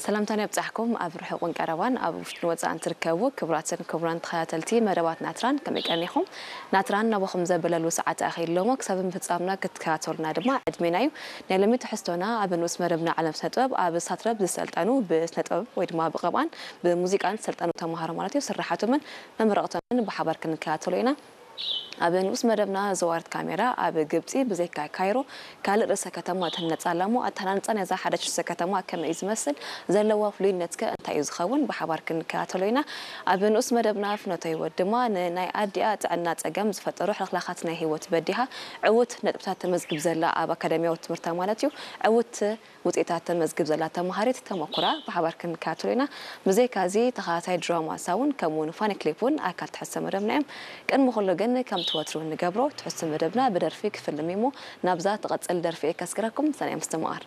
ሰላምታን ኣብጻሕኩም ኣብ ርሑቕን ቀረባን ኣብ ውሽጥን ወጻእን ትርከቡ ክቡራትን ክቡራን ተኸታተልቲ መደባት ናትራን ከመይ ቀኒኹም? ናትራን ናባኹም ዘበለሉ ሰዓት ኣኺልሎሞ ክሳብ ምፍጻምና ክትከታተሉና ድማ ዕድሜና እዩ። ናይ ሎሚ ትሕዝቶና ኣብ ንኡስ መደብና ዓለም ስነ ጥበብ ኣብ ሳትረብ ዝሰልጠኑ ብስነ ጥበብ ወይ ድማ ብቐብኣን ብሙዚቃን ዝሰልጠኑ ተምሃሮ ማለት እዩ ስራሓቶምን መመረቕቶምን ብሓባር ክንከታተሎ ኢና። ኣብ ንኡስ መደብና ዘዋርት ካሜራ ኣብ ግብጺ ብዘይካ ካይሮ ካልእ ርእሰ ከተማ ትህነጽ ኣላ እሞ ኣተሃናንጻ ናይዛ ሓዳሽ ርእሰ ከተማ ከመይ እዩ ዝመስል ዘለዋ ፍሉይነትከ እንታይ እዩ ዝኸውን ብሓባር ክንከታተሎ ኢና። ኣብ ንኡስ መደብና ፍኖተ ህይወት ድማ ንናይ ኣዲኣ ጥዕና ጸገም ዝፈጠሩ ሕልኽላኻት ናይ ህይወት በዲሃ ዕውት ነጥብታት ተመዝግብ ዘላ ኣብ ኣካዳሚያዊ ትምህርታ ማለት እዩ ዕውት ውፅኢታት ተመዝግብ ዘላ ተምሃሪት ተመኩራ ብሓባር ክንከታተሎ ኢና። ብዘይካ እዚ ተኸታታይ ድራማ ሳውን ከምኡ እውን ፋኒ ክሊፕ እውን ኣካል ትሕዝቶ መደብና እዮም። ቅድሚ ኩሉ ግን ከምቲ ወትሩ እንገብሮ ትሕዝቶ መደብና ብደርፊ ክፍልም እሞ ናብዛ ትቐፅል ደርፊ እየ ከስግረኩም ሰናይ ምስትምቓር።